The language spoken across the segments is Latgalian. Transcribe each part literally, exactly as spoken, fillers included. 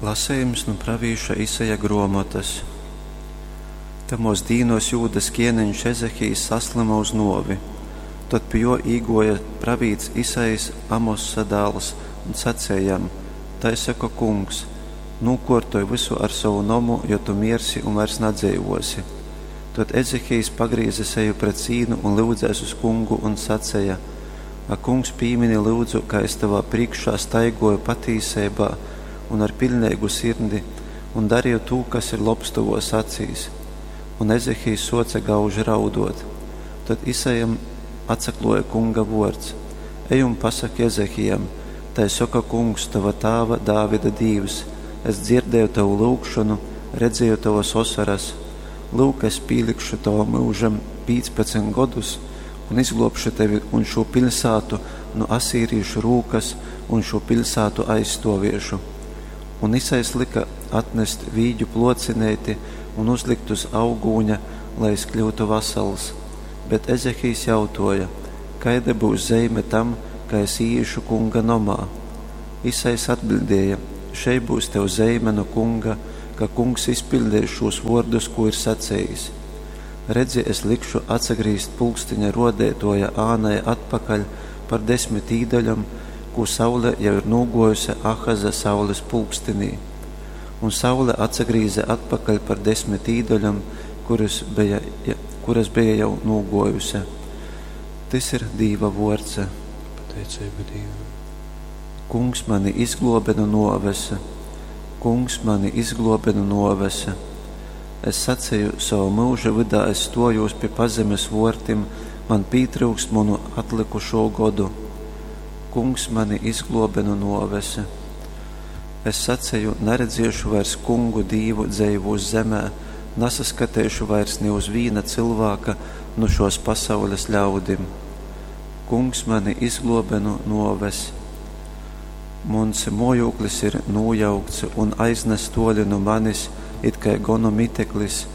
Lasejums nu pravīša Isaja gruomotys. Tamuos dīnuos Jūdas kieneņš Ezehijs saslyma uz nuovi. Tod pi juo īguoja pravīts Isajs, Amossa dāls, un saceja jam: Tai soka Kungs, nūkuortoj vysu ar sovu nomu, jo tu miersi un vairs nadzeivuosi. Tod Ezehijs pagrīze seju pret sīnu un lyudzēs uz Kungu un saceja: Ak, Kungs, pīmini, lyudzu, ka es tovā prīškā staiguoju patīseibā un ar piļneigu sirdi un darīju tū, kas ir lobs tovuos acīs. Un Ezehijs suoce gauži rauduot. Tod Isajam atsakluoja Kunga vuords: Ej un pasaki Ezehijam: Tai soka Kungs, tova tāva Dāvida Dīvs, es dzirdēju tovu lyugšonu, redzēju tovas osoras. Lyuk, es pīlikšu tovam myužam pīcpadsmit godus un izgluobšu tevi un šū piļsātu nu asīrīšu rūkas un šū piļsātu aizstuoviešu. Un Isajs lyka atnest vīģu pluocineiti un uzlikt uz augūņa, lai es kļūtu vasals. Bet Ezehijs jautuoja: Kaida byus zeime tam, ka es īīšu Kunga nomā? Isajs atbiļdēja: Šei byus tev zeime nu Kunga, ka Kungs izpiļdeis šūs vuordus, kū ir sacejis. Redzi, es likšu atsagrīzt pulksteņa ruodeituoja ānai atpakaļ par desmit īdaļom, kū saule jau ir nūguojuse Ahaza saules pulkstenī. Un saule atsagrīze atpakaļ par desmit īdaļom, kuras beja, kuras beja jau nūguojuse. Tys ir Dīva vuords. Pateiceiba Dīvam. Kungs mani izgluobe nu nuoves. Kungs mani izgluobe nu nuoves. Es saceju, sova myuža vydā es stuojūs pi pazemes vuortim, man pītryukst munu atlykušū godu. Kungs mani izgluobe nu nuoves. Es saceju, naredziešu vairs Kungu Dīvu dzeivūs zemē, nasaskateišu vairs ni uz vīna cylvāka nu šuos pasaules ļaudim. Kungs mani izgluobe nu nuoves. Muns muojūklis ir nūjaukts un aiznasts tuoli nu manis, it kai gonu miteklis,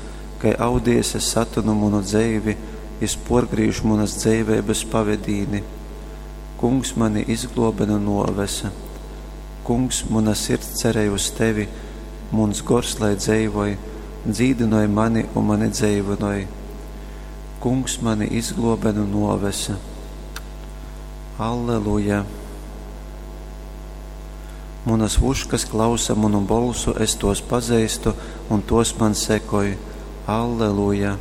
kai audiejs es satynu munu dzeivi, jis puorgrīž munys dzeiveibys pavedīni. Kungs mani izgluobe nu nuoves. Kungs, muna sirds cerej uz tevi, muns gors lai dzeivoj, dzīdynoj mani un mani dzeivynoj. Kungs mani izgluobe nu nuoves. Alleluja! Munas vuškas klausa munu bolsu, es tos pazeistu, un tos man sekoj. Alleluja!